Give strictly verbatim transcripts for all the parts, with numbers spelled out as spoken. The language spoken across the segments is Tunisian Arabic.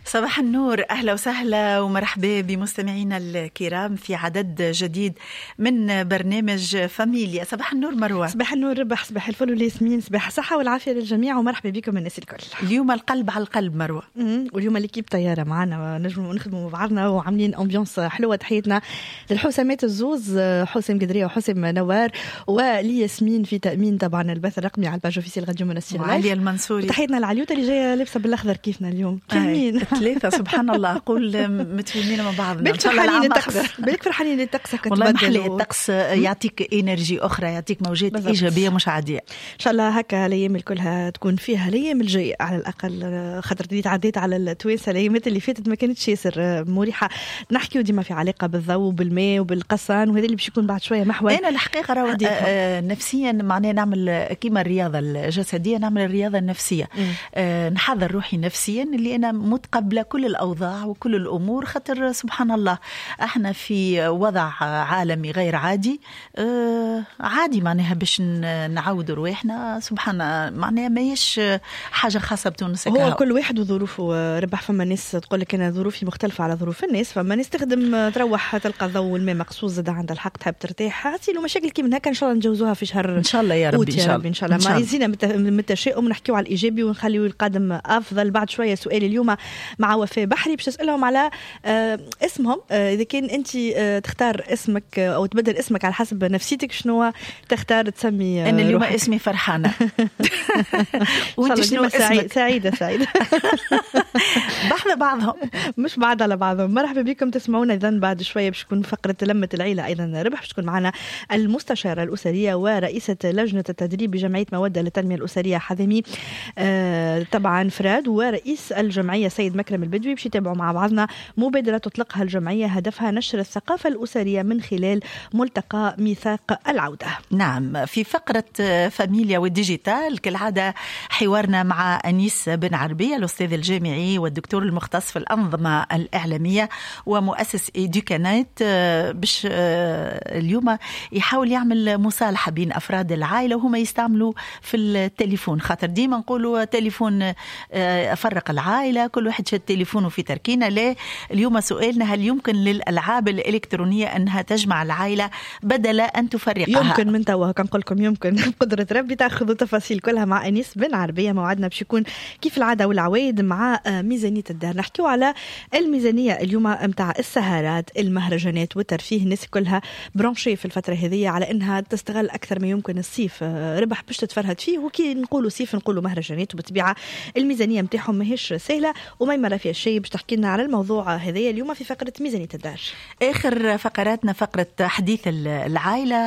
صباح النور، أهلا وسهلا ومرحبا بمستمعينا الكرام في عدد جديد من برنامج فاميليا. صباح النور مروة. صباح النور ربح، صباح الفل والياسمين، صباح الصحة والعافية للجميع ومرحبا بكم الناس الكل. اليوم القلب على القلب مروة. واليوم l'équipe طيارة معنا، نجموا نخدموا مع بعضنا وعاملين ambiance حلوة. تحياتنا للحسامات الزوز، حسام قدرية وحسام نوار، ولياسمين في تأمين طبعا البث الرقمي على ال page officielle راديو منستير. وعليا المنصوري. تحياتنا لعليوتا اللي جاية لابسة بالاخضر كيفنا اليوم. كاملين ثلاثة سبحان الله، قول متفاهمين مع بعضنا. بالك فرحانين الطقس، بالك فرحانين الطقس. والله محلي الطقس، يعطيك énergie اخرى، يعطيك موجات بالضبط. ايجابية مش عادية. ان شاء الله هكا الايام كلها تكون فيها، الايام الجاية على الاقل، خاطر اللي تعديت على التوانسة الايامات اللي فاتت ما كانتش ياسر مريحه. نحكيو ديما في علاقة بالضوء وبالماء وبالقصان، وهذا اللي باش يكون بعد شوية محور. انا الحقيقة راهو آه نفسيا معناها نعمل كيما الرياضة الجسدية، نعمل الرياضة النفسية. آه نحضر روحي نفسيا اللي انا متقبله كل الاوضاع وكل الامور، خاطر سبحان الله احنا في وضع عالمي غير عادي. آه عادي معناها باش نعاودوا رواحنا، سبحان معناها ماهيش حاجة خاصة بتونس. هو كل واحد وظروفه ربح. فما ناس تقول لك انا ظروفي مختلفة على ظروف الناس، فما ناس تخدم تروح تلقى الضوء والماء مقصوص، زاد عندها الحق تحب ترتاح. حاسيلو مشاكل كيما هكا ان شاء الله نجوزوها في شهر ان شاء الله يا ربي. ان شاء الله ان شاء الله ما يزينا من التشاؤم، نحكيو على الايجابي ونخليو القادم افضل. بعد شوية سؤال اليوم مع وفاء بحري باش تسالهم على اسمهم، اذا كان انت تختار اسمك او تبدل اسمك على حسب نفسيتك، شنو تختار تسمي؟ انا اليوم اسمي فرحانة. وانت شنو اسمك؟ سعيدة. سعيدة بحذا بعضهم مش بعض على بعضهم. مرحبا بكم تسمعونا اذا بعد شوية باش تكون فقره لمه العيلة ايضا ربح، باش تكون معنا المستشارة الاسرية ورئيسه لجنة التدريب بجمعية موده للتنمية الاسرية حذامي طبعا فراد، ورئيس الجمعية سيد مكرم البدوي، باش يتابعوا مع بعضنا مبادرة تطلقها الجمعية هدفها نشر الثقافة الاسرية من خلال ملتقى ميثاق العودة. نعم، في فقره فاميليا وال digital كالعادة حوارنا مع انيس بن عربية الاستاذ الجامعي والدكتور المختص في الانظمة الاعلامية ومؤسس إيدوكانات، باش اليوم يحاول يعمل مصالحه بين افراد العائلة وهما يستعملوا في التليفون، خاطر ديما نقولوا تليفون فرق العائلة، كل واحد شاد تليفونه في تركينه. لا، اليوم سؤالنا هل يمكن للالعاب الالكترونية انها تجمع العائلة بدل ان تفرقها؟ يمكن من توا كنقول لكم يمكن بقدره ربي. تاخذوا تفاصيل كلها مع انيس بن عربية. موعدنا باش يكون كيف العادة والعوايد مع ميزانية الدار. نحكيو على الميزانية اليوم نتاع السهرات، المهرجانات والترفيه. الناس كلها branchés في الفترة هذه على انها تستغل اكثر ما يمكن الصيف ربح باش تتفرهد فيه، وكي نقولوا صيف نقولوا مهرجانات، وبالطبيعه الميزانية نتاعهم ماهيش سهلة. وما راه فيها شيء باش تحكي لنا على الموضوع هذايا اليوم في فقره ميزانية الدار. اخر فقراتنا فقره حديث العائلة.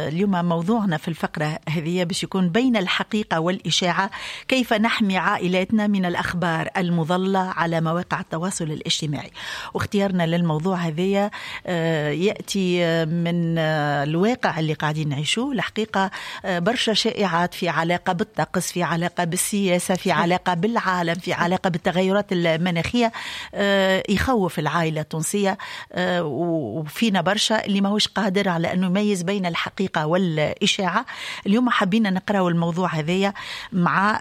اليوم موضوعنا في الفقرة هذه باش يكون بين الحقيقة والاشاعه، كيف نحمي عائلاتنا من الاخبار المضلة على مواقع التواصل الاجتماعي. واختيارنا للموضوع هذايا ياتي من الواقع اللي قاعدين نعيشوه. الحقيقة برشا شائعات في علاقة بالطقس، في علاقة بالسياسة، في علاقة بالعالم، في علاقة بالتغيرات المناخية، يخوف العائلة التونسية، وفينا برشا اللي ماهوش قادر على انه يميز بين الحقيقة والاشاعه. اليوم حبينا نقراو الموضوع هذايا مع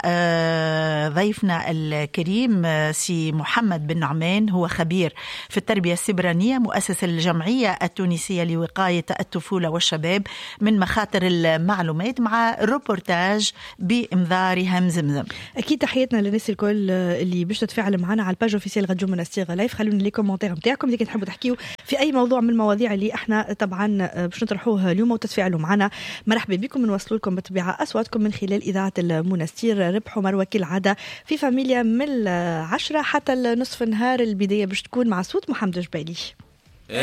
ضيفنا الكريم سي محمد بن نعمان، هو خبير في التربية السبرانيه، مؤسس الجمعية التونسية لوقايه الطفولة والشباب من مخاطر المعلومات، مع روبورتاج بامضاء ريهام زمزم. اكيد تحياتنا للناس الكل اللي باش تتفاعل معنا على ال page officielle راديو منستير live. خلونا les commentaires نتاعكم اذا تحبوا تحكيوا في اي موضوع من المواضيع اللي احنا طبعا باش نطرحوه اليوم وتتفاعلوا معنا. مرحبا بكم، نوصلوا لكم بالطبيعة اصواتكم من خلال اذاعة المنستير. ربحوا مروه كالعادة في فاميليا من العشرة حتى نصف النهار. البداية باش تكون مع صوت محمد جبالي.